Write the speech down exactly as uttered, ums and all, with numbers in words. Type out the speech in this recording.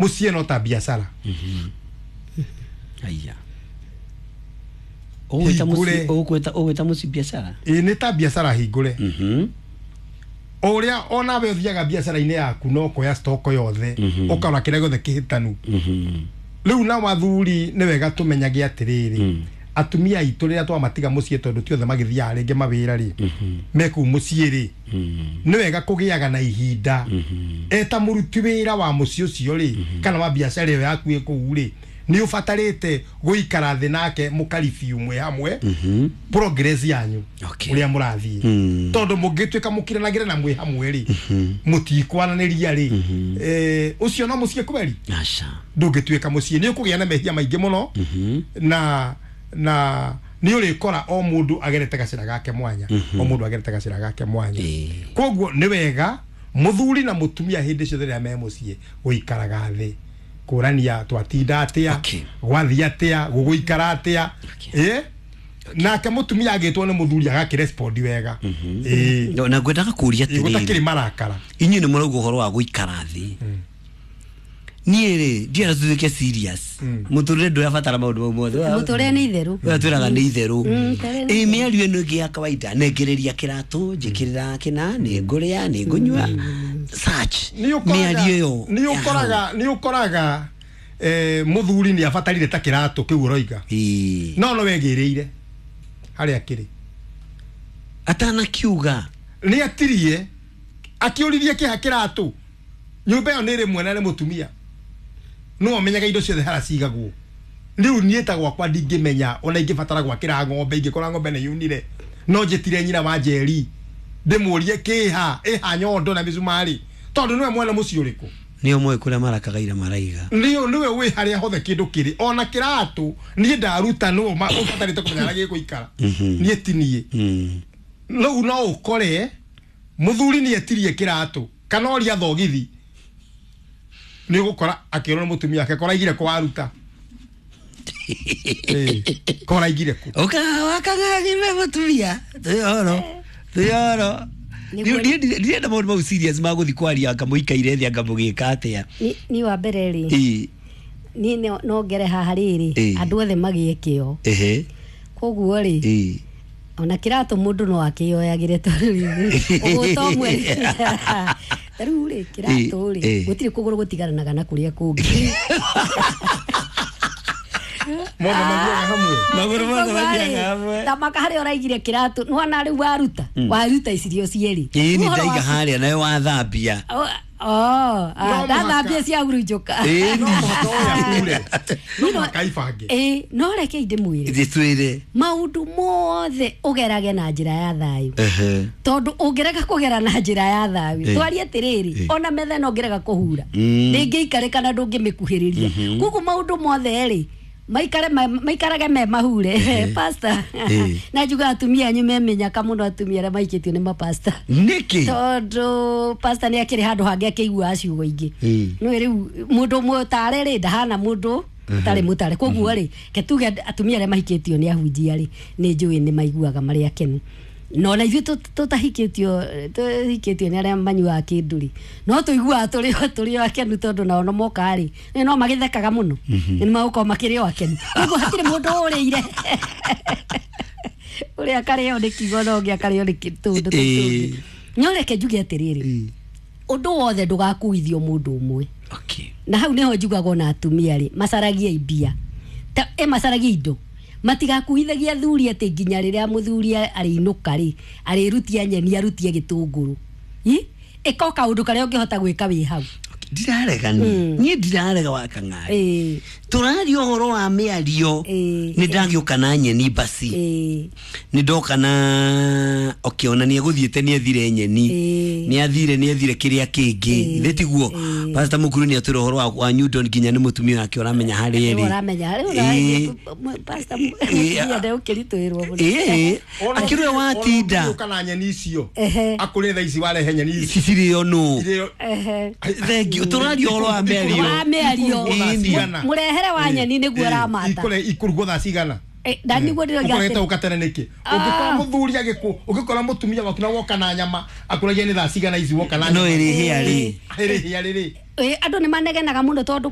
Muciĩ no ta biacara. Aya. Ũgwĩta mũciĩ ũgwĩta ũgwĩta mũciĩ biacara? Ĩĩ nĩ ta biacara hingũre. Mhm. Ũrĩa onawe ũthiaga biacara-inĩ yaku no kuoya stock yothe ũkarora kĩrĩa gĩothe kĩhĩtanu. Mhm. Rĩu na athuri nĩ wega tũmenyage atĩrĩrĩ, atumia aitũ rĩrĩa twamatiga mũciĩ tondũ ti othe magĩthiaga rĩngĩ mawĩra rĩ, me kũu mũciĩ rĩ, nĩ wega kũgĩaga na ihinda eta mũruti wĩra wa mũciĩ ũcio rĩ, kana wa biacara ĩyo yaku ĩ kũu rĩ, nĩ ũbatarĩte gũikara thĩ nake mũkaribio mwĩ hamwe progress yanyu Okay. ũrĩa mũrathiĩ, tondũ mũngĩtuĩka mũkiranagĩre na mwĩ hamwe rĩ, mũtikwaranĩria rĩ, eh, ũcio no mũciĩ kweri Aca. ndũngĩtuĩka mũciĩ, nĩ ũkũgĩa na mehia maingĩ mũno, na na nĩ ũrĩkora o mũndũ agerete gacĩra gake mwanya, o mũndũ agerete gacĩra gake mwanya. Koguo nĩ wega mũthuri na mũtumia hĩndĩ ciothe rĩrĩa me mũciĩ gũikaraga thĩ kũrania twatinda atĩa, Okay. gwathiĩ atĩa, gũgũikara atĩa, ĩ nake mũtumia agĩtwo nĩ mũthuri agakĩrespond wega, ĩ Na ngwendaga kũria gũtakĩrĩ atĩrĩrĩ, marakara. Inyuĩ nĩ mũrauga ũhoro wa gũikara thĩ. Niĩ rĩ ndienda tutuĩke serious. Mũtũrĩre ndũrabatara maũndũ mau mothe. Mũtũrĩre nĩ itherũ. Ũrĩa twĩraga nĩ itherũ. Mũtũrĩre nĩ Ĩ mĩario ĩno ĩngĩ ya kawaida, nengereria kĩratũ, njĩkĩrĩra kĩna, nĩ ngũrĩa, nĩ ngũnyua, such nĩ ũkoraga mĩario ĩyo nĩ ũkoraga nĩ ũkoraga eh, mũthuri nĩ abatarire ta kĩratũ kĩu ũroiga, Ĩ. no no wegĩrĩire harĩa kĩrĩ atanakiuga nĩ atirie akĩũririe kĩha kĩratũ nyũmba ĩyo nĩ ĩrĩ mwena nĩ mũtumia no amenyaga indo ciothe harĩa cigagwo. Rĩu niĩ ta gwakwa ndingĩmenya ona ingĩbatara gwakĩra ng'ombe, ingĩkora ng'ombe nĩ yunire no njĩtire nyina wa Njeri ndĩmũrie kĩha ĩha nyondo na mĩcumarĩ, tondũ nĩwe mwene mũciĩ ũrĩkũ, nĩo moĩ kũrĩa marakagaira maraiga, nĩo nĩwe wĩ harĩa hothe kĩndũ kĩrĩ, ona kĩratũ niĩ ndaruta nĩwe ũbatarĩte kũmenya harĩa gĩgũikara, niĩ ti niĩ. Rĩu no ũkore mũthuri nĩ etirie kĩratũ kana oria thogithi, nĩ ũgũkora akĩrwo nĩ mũtumia wake koraigire kũ waruta, koraigire kũ ũka wakang'ang'i me mũtumia twĩ horo twĩ horo. Ndirenda maũndũ mau serious ma gũthiĩ kwaria anga mũikaire thĩ anga mũgĩka atĩa. Ni wa mbere rĩ, Ĩ. niĩ no ngere haha rĩrĩ, Ĩ. andũ othe magĩe kĩo, Ehe. koguo rĩ, Ĩ. ona kĩratũ mũndũ no akĩyoyagĩre tondũ rĩrĩ ũgũta ũmwe ta rĩu rĩ kĩratũ rĩ Ĩ. gũtirĩ kũgũrũ gũtigaranaga na kũrĩa kũngĩ. Mothe mathiaga hamwe, magũrũ mothe mathiaga hamwe. Tamaka harĩa ũraigire kĩratũ nĩwona rĩu waruta waruta icirio cierĩ. Ĩ nĩ Ũhoro ndaiga waku- harĩa nayo wathambia. Oh, oh, ah, No mũhaka. ndathambia cia hurunjũka. Ĩ no mũhaka ũyakure, no mũhaka ibange. Ĩ no reke ndĩmwĩre Gĩtwĩre maũndũ mothe ũgerage na njĩra ya thayũ, Ehe. tondũ ũngĩrega kũgera na njĩra ya thayũ, Ĩ. twarie atĩrĩrĩ, Ĩ. ona metha ĩno ũngĩrega kũhura Mm. ndĩngĩikarĩka na ndũngĩmĩkuhĩrĩria, koguo maũndũ mothe rĩ maikare ma- maikarage me mahure pastor. Ĩ. Na njuga atumia anyu memenyaka mũno, atumia arĩa maikĩtio nĩ mapasta, Nĩkĩ? tondũ pastor nĩ akĩrĩ handũ hangĩ akĩiguaga ciugo ingĩ. Ĩ. Nĩwe rĩu mũndũ mũtare rĩ ndahana mũndũ ũtarĩ mũtare, koguo rĩ ke tuge atumia arĩa mahikĩtio nĩ ahunjia rĩ nĩ njũĩ nĩ maiguaga marĩ akenu, no na ithuĩ tũ- tũtahikĩtio tũhikĩtio nĩ arĩa manyuaga kĩndũ rĩ no tũiguaga tũrĩ o tũrĩ o akenu, tondũ nao no moka rĩ nĩ no magĩthekaga mũno, nĩ magũkorwo makĩrĩ o akenu, koguo hatirĩ mũndũ ũrĩire ũrĩa akarĩo nĩ kiugo na ũngĩ akarĩo nĩ kĩ- tũndũ Ĩ. tũngĩ. No reke njuge atĩrĩrĩ, ũndũ wothe ndũgakuithio mũndũ ũmwe. Okay. Na hau niho njugagwo na atumia rĩ macaragie mbia ta e macaragie indo, matigakuithagia athuri atĩ nginya rĩrĩa mũthuri arĩinũka rĩ arĩrutia nyeni arutie gĩtũngũrũ. Ĩ ĩka o kaũndũ karĩa ũngĩhota gwĩka wĩ hau. Ndirarega niĩ niĩ ndirarega wakang'ari, Ĩ. tũraria ũhoro wa mĩario. Ĩ. Nĩ ndagĩũka na nyeni basi, Ĩ. nĩ ndoka na okay, ona nĩ egũthiĩte nĩ ethire nyeni, Ĩ. nĩ athire nĩ ethire kĩrĩa kĩngĩ, thĩ tiguo? Ĩ. Pastor Mukuru nĩ atwĩra ũhoro wa wa Newton nginya nĩ mũtumia wake ũramenya harĩa Rĩu ĩrĩ. ũramenya rĩu Ĩ. ũra- pastor Ĩ. mũtumia ndegũkĩritũhĩrwo mũno. Ĩ akĩrwe watinda kana nyeni icio Ehe. akũrĩ thaa ici warehe nyeni ici ici cirĩo nũ? Irĩo- Ehe. Thank you, tũraria ũhoro wa mĩario. Wa mĩario. Ĩni. Mũrehere wa nyeni nĩguo ũramata. Ikũre- ikũrugwo thaa cigana? Eh, na nĩguo ndĩroiga ũkorete atĩ- ũka tene nĩkĩ? Ũngĩkora mũthuri agĩkũ ũngĩkora mũtumia waku na woka na nyama akũragia nĩ thaa cigana ici woka na No nyama? ĩrĩhĩa rĩ? Ĩrĩhĩa rĩrĩ. Ĩ, andũ nĩ manegenaga mũno tondũ.